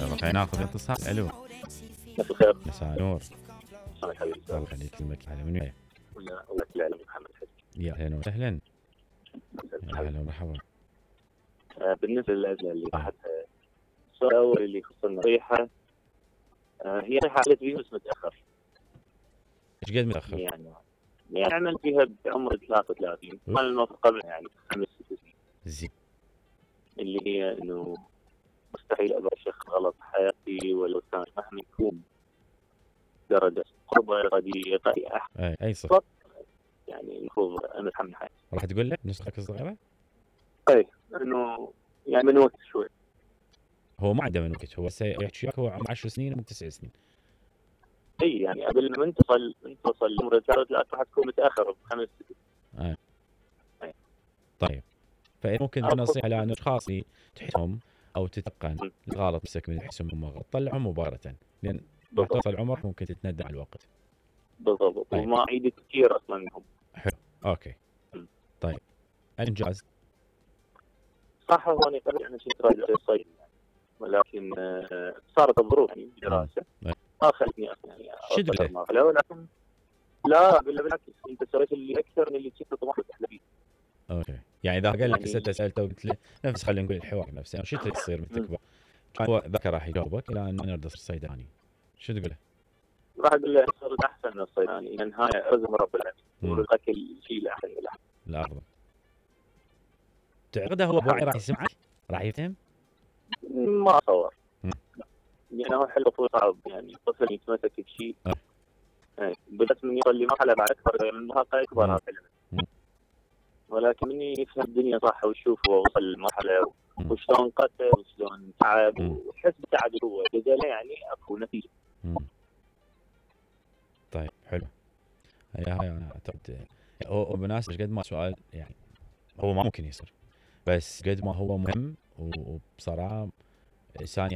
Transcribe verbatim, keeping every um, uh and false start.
يلا خلينا ناخذ اتصال. الو مساء الخير. مساء النور. الله يخليك. الله يخليك. اسمك على من وين؟ ولا ولا كل محمد حسين. يا اهلا وسهلا. يا اهلا ومرحبا. آه بالنسبه للازمه اللي راحتها، السؤال الاول اللي يخص النصيحه، آه هي حالت فيه بس متاخر. ايش قد متاخر؟ يعني يعني عمل فيها بعمر ثلاثة وثلاثين، كان الموقف قبل يعني خمس ست سنين. زين. اللي هي انه مستحيل ابغى شيخ غلط حياتي ولو كان مهما يكون درجه قربة اراديه اي احد. اي اي صح. يعني المفروض انا اتحمل حياتي. راح تقول لك نسختك الصغيره؟ اي انه يعني من وقت شوي. هو ما عنده من وقت، هو يحكي وياك هو عمره عشر سنين من تسع سنين. اي يعني قبل ما انت تصل انت تصل عمر ثلاث راح تكون متاخر بخمس سنين. اي طيب، فممكن نصيحه لاشخاص تحسهم او تتقن الغلط نفسك من تحسهم هم غلط، طلعهم مباشره، لان راح توصل عمرك ممكن تتندم على الوقت. بالضبط. طيب. وما عيد كثير اصلا منهم. حلو. اوكي. م. طيب الانجاز صح. هو انا قبل انا كنت راجع الصيد، ولكن صارت الظروف يعني دراسه ما خلتني يعني شد له، ولكن لا بالعكس انت سويت اللي اكثر من اللي كنت طموحك تحلم فيه. اوكي، يعني اذا قال لك يعني سالته سالته وقلت له نفس خلينا نقول الحوار نفسه، شو تصير من تكبر؟ كان هو ذكر راح يجاوبك الى ان انا اريد اصير صيدلاني، شو تقول له؟ راح اقول له صرت احسن من الصيدلاني، لان هاي رزق رب العالمين ورزقك الشيء الاحسن من الاحسن. الافضل. تعتقد هو بوعي راح يسمعك؟ راح يفهم؟ ما اتصور. يعني هو حلو طول صعب، يعني طفل يتمسك بشيء أه. بس من يوصل لمرحله بعد اكبر من المراهقه يكبر هذا، ولكن من يفهم الدنيا صح ويشوف هو وصل لمرحله وشلون قتل وشلون تعب ويحس بتعب هو جزاله، يعني اكو نتيجه. طيب حلو. هي هاي انا اعتقد هو بمناسبه قد ما سؤال يعني هو ما ممكن يصير، بس قد ما هو مهم وبصراحه انسان